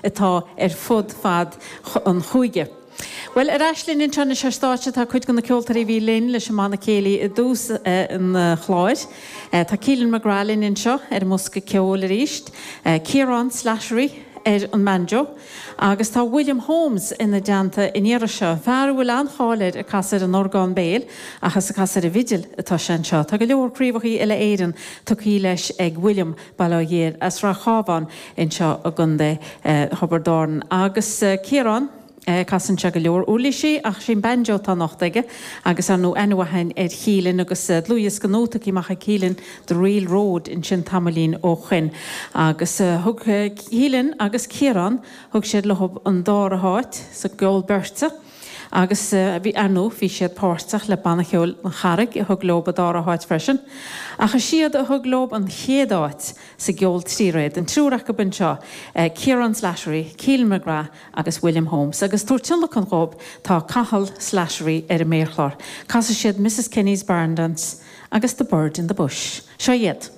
Atá ar fud fad an chúige. Bhuel, ar ais linn anseo anois ar stáitse tá cuid de na ceoltóirí a bhí linn leis an mbanna céilí i dtús an chláir. Tá Keelan McGrath linn anseo ar an mbosca ceoil arís, Ciarán Slattery ar an mbanjo agus tá William Holmes ina dteannta an iarraidh seo, fear a bhfuil an-cháil air ag casadh ar an orgán béil ach is ag casadh ar an bhfidil atá sé anseo. Tá go leor craobhachaí uile-Éireann tugtha leis ag William. Baile Átha Ghiorria as Rath Chábháin anseo i gContae Thiobraid Árann. Agus Ciarán, casann sé go leor uirlisí ach sé an banjo atá anocht aige agus ar ndóigh aithne mhaith againn ar Keelan agus dlúthdhiosca nua tugtha amach ag Keelan, The Real Road, ansin tamaillín ó shoin. Agus thug Keelan agus Ciarán, thug siad leo an dara háit sa gceol beirte. Agus bhí, ar ndóigh, bhí siad páirteach le Banna Cheoil an Charraig a thug leo an dara háit freisin. Ach is iad a thug leo an chéad áit sa gceol tríréad, an triúr acu anseo, Ciarán Slattery, Keelan McGrath agus William Holmes. Agus ag tabhairt tionlacan dhóibh tá Cathal Slattery ar an méarchlár. Casfaidh siad Mrs Kenny's Barn Dance agus The Bird in the Bush. Seo iad.